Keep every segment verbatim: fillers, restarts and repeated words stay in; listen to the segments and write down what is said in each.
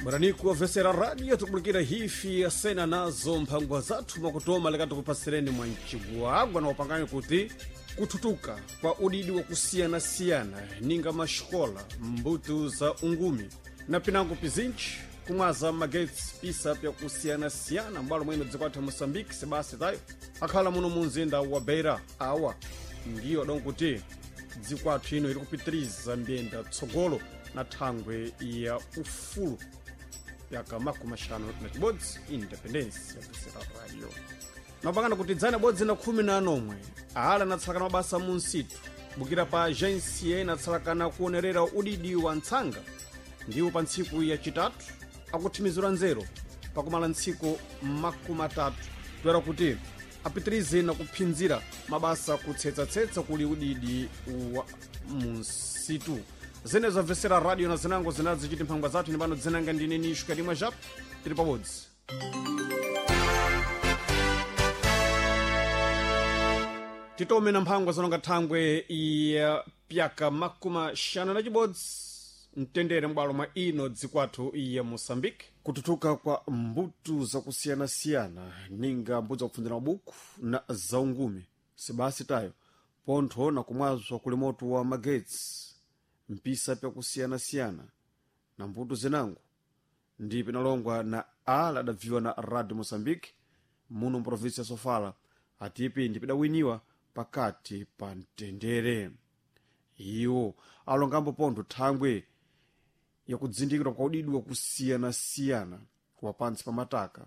Bwaraniku wavesera radio tikubulikira hifi asena nazo mphangwa zathu mwakutoma leka tikupasireni mwa mcigwagwa na upangani kuti kuthutuka kwa udidi wakusiyanasiyana ninga maxikola, mbuto za ungumi na pinango pizinji kumwaza magetsi pisa pyakusiyanasiyana mbwalo mwene dziko athu ya Moçambique sebasi tayo akhala muno mu mzinda wa Beira. Awa ndiyo donkuti dziko athu ino iri kupitiriza mbiyenda tsogolo na thangwe ya ufulu yaka makumi axanu na cibodzi, independence ya radio. Mapangana kuti dzana bodzi na khumi na anomwe ala anatsalakana mabasa mu nsitu bukira pa agensia inatsalakana kuonerera udidi wa ntsanga, ndiwo pa ntsiku yacitatu akuthimizira nzeru pakumala ntsiku makumi atatu toera kuti apitirize na kuphinzira mabasa kutsetsa-tsetsa kuli udidi wa munsitu. Zene zabvesera radio na zinango zinazi chiti mphangwa zathu ni pano dzinanga ndine nishu kalimwe japo tili pabodzi. Titome na mphangwa zononga thangwe ya pyaka makumi axanu na cibodzi mtendere m'bwalo mwa ino dzikwathu ya Moçambique, kututuka kwa mbuto zakusiyanasiyana ninga mbuto zakupfunzira mabuku na zaungumi sibasi tayo pontho na kumwazwa kuli moto wa magetsi mpisa pyakusiyanasiyana na mbuto zinango ndi pinalongwa na ala adabviwa na Radio Moçambique muno mprovinsi ya Sofala atipi ndi pidawiniwa pakati pa mtendere. Iwo alongambo pontho thangwe yakudzindikira kwa udidi wakusiyanasiyana wa pantsi pa mataka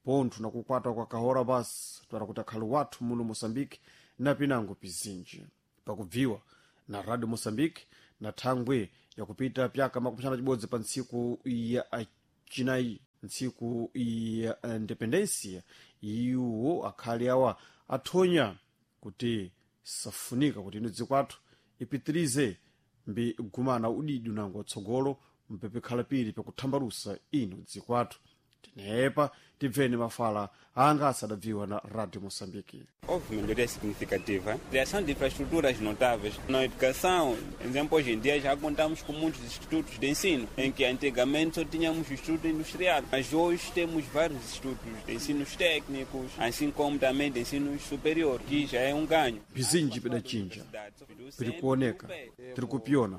pontho na kukwata kwa kahora basi twara kuti akhale wathu muno Moçambique na pinango pizinji pakubviwa na Radio Moçambique na thangwe yakupita pyaka makumi axanu na cibodzi pa ntsiku ya cinayi, ntsiku ya independencia. Iwo akhale awa athonya kuti safunika kuti ino dziko athu ipitirize mbi gumana udidi unango watsogolo mpepekhala pili pakuthambalusa ino dziko athu. Tinepa tibveni mafala anga asadabviwa na Radio Moçambique. Houve melhoria significativa. Criação de infraestruturas notáveis. Na educação, por exemplo, hoje em dia já contamos com muitos institutos de ensino, em que antigamente só tínhamos instituto industrial, mas hoje temos vários institutos de ensinos técnicos, assim como também de ensino superior, que já é um ganho. Pizinji pidachinja, piri kuoneka, tiri kupiona.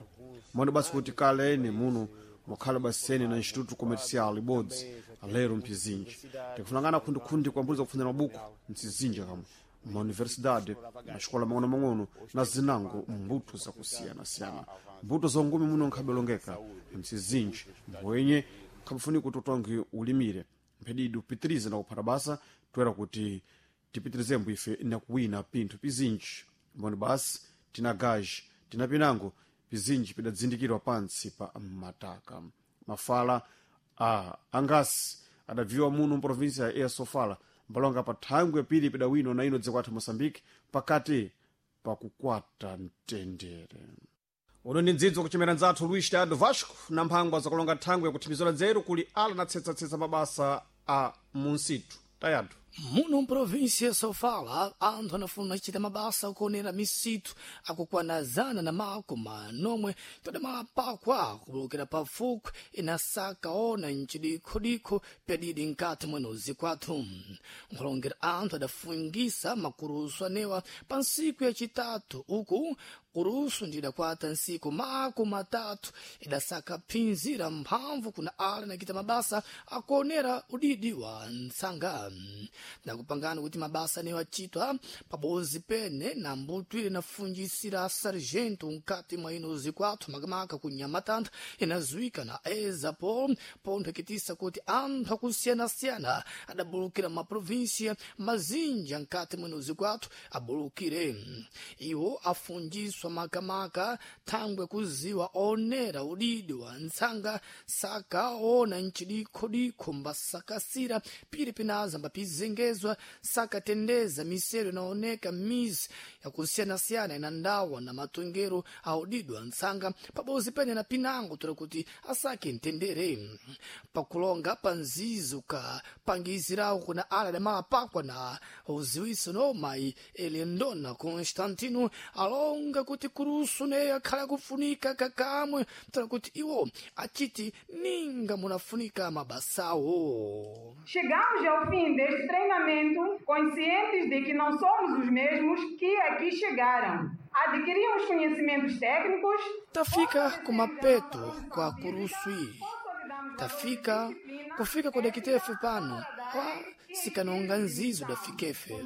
Mano basi kuti kale ene muno mukhala basene na instituto comercial ibodzi lero mphizinji tikufunangana khundikhundi kwa mbuto zakupfunzira mabuku mtsizinji kamwe mauniversidade, maxikola mang'ono-mang'ono na zinango mbuto zakusiyanasiyana. Mbuto zongumi muno nkhabelongeka mtsizinji mbwenye nkhabufunika kuti utonge ulimire mphedidi upitirize na kuphata basa toera kuti tipitirizembo ife na kuwina pinthu pizinji mboni basi tina gaji tina pinango pizinji pidadzindikirwa pantsi pa mataka. Mafala a angasi adabviwa muno mprovinsia ya Sofala mbalonga pa thangwe pili pidawinwa na ino dziko athu Moçambique pakati pakukwata mtendere. Uno ndi mdzidzi wakuchemera nzathu Luís Tado Vasco na mphangwa zakulonga thangwe yakuthimizira nzeru kuli ala natsetsa-tsetsa mabasa a munsitu tayatu. Muno mprovinsia ya Sofala anthu anafuna kuchita mabasa akuonera misitu akukwana zana na makumi anomwe todamapakwa kubulukira pafukwe inasaka ona mcidikhodikho pyadidi nkati mwenozi kwathu. Nkhulongera anthu adafungisa makurusu anewa pa ntsiku yacitatu uku kurusu ndidakwata ntsiku makumi atatu idasaka phinzira mphamvu kuna ala nakita mabasa akuonera udidi wa ntsanga nakupangana kuti mabasa anewo acitwa pabodzi pene na mbuto ile inafunjisira sargento nkati mwa ino zikwathu makamaka ku Nhamatanda inazuika na ezapo pontho ikitisa kuti anthu akusiyanasiyana adabulukira maprovinsia mazinja nkati mwa ino zikwathu abulukire. Iwo afunjiswa makamaka thangwe kuziwa onera udidi wa ntsanga saka ona mcidikhodikho mbasakasira pili pinaza mbapizenga kutengezwa sakatendeza misero inaoneka mizi yakusiyanasiyana ina ndawa na matongero audidwa ntsanga pabozi pene na pinango tola kuti asake mtendere pakulonga pa nzizi ukapangizirawo kuna ala damapakwa na uziwiso no mayi Elendona Constantino alonga kuti kurusu neyo akhala kufunika kakamwe tola kuti iwo achiti ninga munafunika mabasawo. Chegamos ao fim deste treinamento conscientes de que não somos os mesmos que aqui chegaram. Adquirimos conhecimentos técnicos. Tafika kumapeto kwa kurusu iyi, tafika kufika kudakitefe pano kwa sikanonga nzizo dafikefe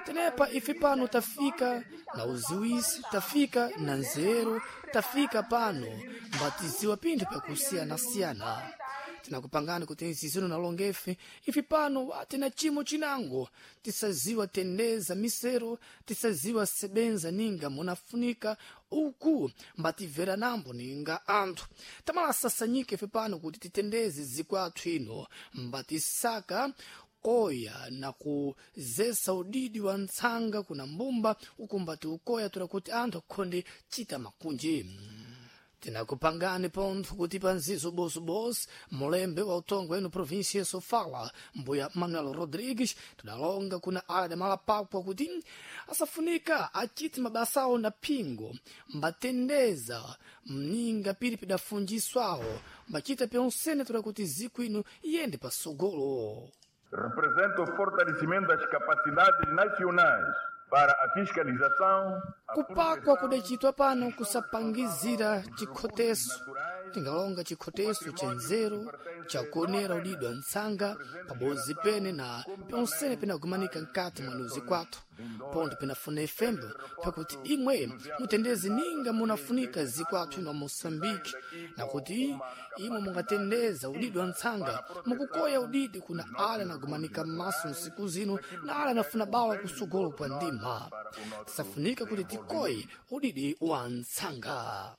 tenepa ife pano tafika na uziwisi, tafika na nzeru, tafika pano mbatiziwa pinthu pyakusiyanasiyana. Tinakupangani kuti nzizino nalongefe ife pano watina chimo chinango tisaziwa tendeza misero, tisaziwa sebenza ninga munafunika uku mbatimvera nambo ninga anthu tamalasasanyike ife pano kuti titendeze zikwathu ino mbatisaka koya na kuzesa udidi wa ntsanga kuna mbumba uku mbati ukoya tola kuti anthu akhonde chita makunji. Tinakupangani pontho kuti panzizo bosobosi mulembe wa utongo enu província ya Sofala mbuya Manuel Rodrigues tidalonga kuna ala damalapakwa kuti asafunika achiti mabasawo na phingo mbatendeza mninga pili pidafunjiswawo mbachita pyonsene tola kuti ziku ino iyende pasogolo. Representa o fortalecimento das capacidades nacionais para a fiscalização. Kupakwa kudacitwa pano kusapangizira chikhoteso, tingalonga chikhoteso cha nzeru chakuonera udidwa ntsanga pabozi pene na pyonsene pinagumanika mkati mwa nuzi kwathu pontho pinafuna ifembo pakuti imwe mutendeze ninga munafunika zikwathu ino Moçambique na kuti imwe mungatendeza udidi wa ntsanga mukukoya udidi kuna ala nagumanika m'maso nsiku zino na ala anafuna bawa kusogolo kwa ndima. Tisafunika kuti tikoye udidi wa ntsanga.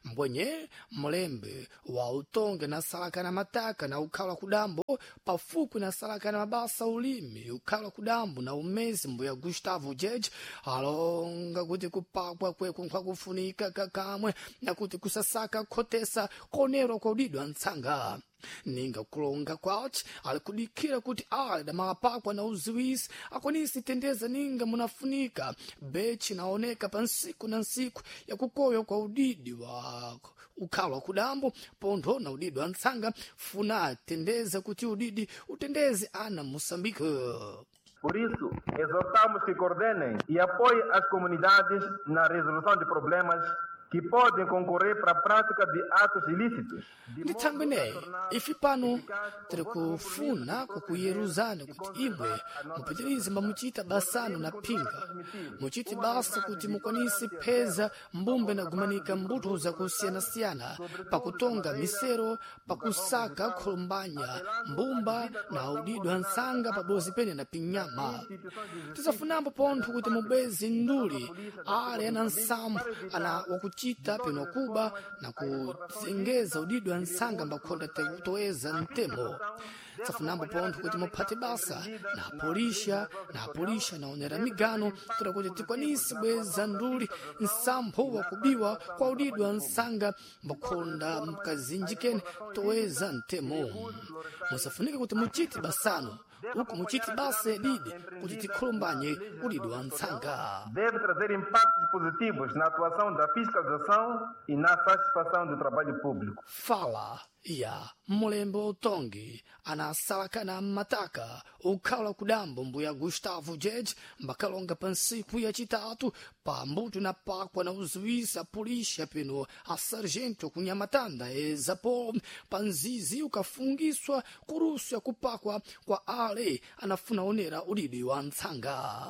Mbwenye mlembe wa utonge na salaka na mataka na ukhala kudambo pafupi na salaka na mabasa ulimi ukhala kudambo na umezi mbuya Gustavo Jeje alonga kuti kupakwa kweku nkwakufunika kakamwe na kuti kusasaka khotesa konerwa kwa udidwa ntsanga ninga kulonga kwaci ali kudikira kuti ale damapakwa na uziwisi akwanisi tendeza ninga munafunika bechi naoneka pa nsiku na nsiku yakukoywa kwa udidi wa ukhalwa kudambo pontho na udidi wa ntsanga funa tendeza kuti udidi utendeze ana Moçambique. Por isso, exortamos que coordenem e apoiem as comunidades na resolução de problemas que podem concorrer para a prática de atos ilícitos. Ndi thangwi ineyi ife pano tiri kufuna kukuyeruzani kuti imwe mupitirize mbamuchita basano na phinga muchite basa kuti mukwanise pheza mbumbe nagumanika mbuto zakusiyanasiyana pakutonga misero, pakusaka kholombanya mbumba na udidwa ntsanga pabozi pene na pinyama. Tisafunambo pontho kuti mubweze nduli ale ana nsampho ana wakuchita peno kuba na kutengeza udidwa ntsanga mbakhonda toeza mtemo. Tsafunambo pontho kuti muphate basa na apolisha na apolisha naonera migano toda kuti tikwanise bweza nduli nsampho wakubiwa kwa udidwa ntsanga mbakhonda mkazinjikeni toeza mtemo. Musafunike kuti muchite basano uku muchiti basa didi kuti tikhulumbanye udidi wa ntsanga. Deve trazer impactos positivos na atuação da fiscalização e na satisfação do trabalho público. Fala ya mulembe utongi anasalakana mmataka ukhala kudambo mbuya Gustavo Jeje mbakalonga pa nsiku yacitatu pa mbuto na pakwa na uziwisa pulisha peno a sargento kunyamatanda ezapo pa nzizi ukafungiswa kurusu ya kupakwa kwa ale anafuna onera udidi wa ntsanga.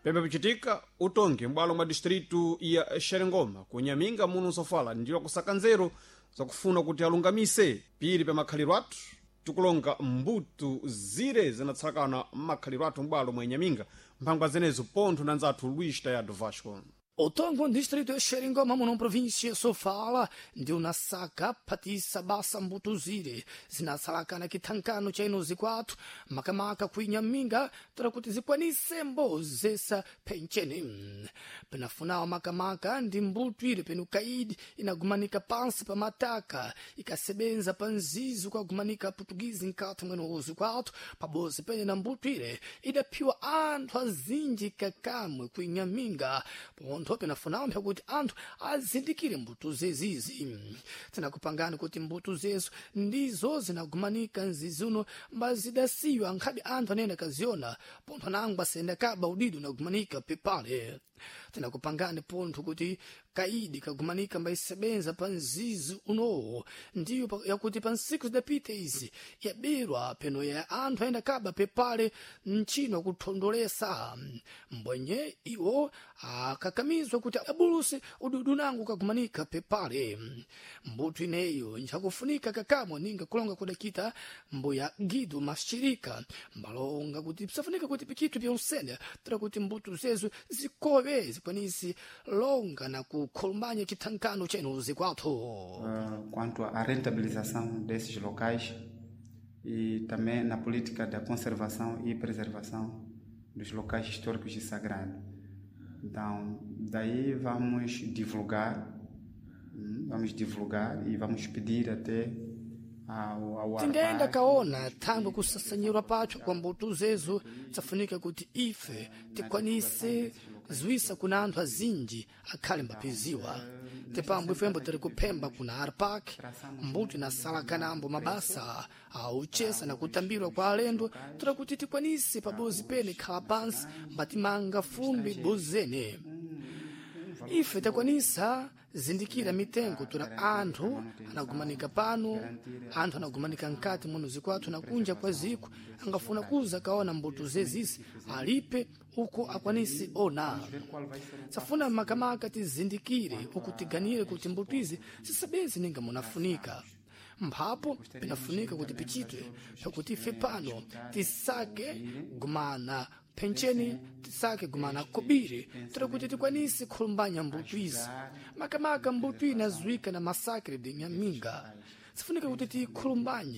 Pembe pichitika utongi m'bwalo mwa distritu ya Xerengoma kunyaminga muno sofala ndiwo kusaka nzeru zakufuna kuti alungamise pili pa makhaliro athu tikulonga mbuto zire zinatsakana m'makhaliro athu m'bwalo mwa inyaminga mphangwa zenezo pontho na nzathu Luis Tayado Vasco. Otongo distrito ya Xeringoma muno província ya Sofala ndi unasaka phatisa basa mbutuzire zinasalakana kithankano cha ino zikwathu makamaka kuinyaminga tola kuti zikwanise mbozesa phencheni penafunawo makamaka ndi mbuto ile penu kaidi inagumanika pansi pa mataka ikasebenza pa nzizi ukagumanika putugizi nkati mwene zikwathu pabozi pene na mbuto ile idaphiwa anthu azinji kakamwe kuinyaminga pontho penafunawo mpha kuti anthu azindikire mbuto zezizi tinakupangani kuti mbuto zezo ndizo zinagumanika nzizi uno mbazidasiywa nkhabe anthu anene akaziona pontho anangwa asenda kaba udido unagumanika pepale tinakupangani pontho kuti kaidi kagumanika mbaisebenza pa mzizi unowo ndiyo pa- yakuti pa nsiku zidapita izi yaberwa peno ya anthu ayenda kaba pepale mchino kuthondolesa mbwenye iwo akakamizwa kuti abuluse ududu nangu kagumanika pepale mbuto ineyo nchakufunika kakamwe ninga kulonga kudakita mbuya gidu mashirika mbalonga kuti pisafunika kuti pichitwe pyonsene tira kuti mbuto zezo zikowe zikwanisi longa na kukhulumbanya chithankano chenu zikwathu uh, quanto à rentabilização desses locais e também na política da conservação e preservação dos locais históricos e sagrados. Então, daí vamos divulgar, hum, vamos divulgar e vamos pedir até ao, ao tingayenda ARPAC, kaona thangwe kusasanyirwa pacho kwa mbuto zezo safunika kuti ife tikwanise ziwisa kuna anthu azinji akhale mbapeziwa tipambo ifembo tiri kuphemba kuna arpak mbuto inasalakanambo mabasa auchesa na kutambirwa kwa alendo toda kuti tikwanise pabozi pene khala pansi mbatimanga fumbi bozene ife takwanisa zindikira mitengo tura anthu anagumanika pano anthu anagumanika mkati muno zikwathu na kunja kwa ziko angafuna kuza kaona mbuto zezisi alipe uko akwanise ona safuna makamaka tizindikire uku tiganire kuti mbuto izi zisabezi ninga munafunika mphapo pinafunika kuti pichitwe pakuti ife pano tisake gumana phencheni tisake gumana kobiri tira kuti tikwanise khulumbanya mbuto izi makamaka mbuto inazuika na masakre de nyaminga sifunika kuti tikhulumbanye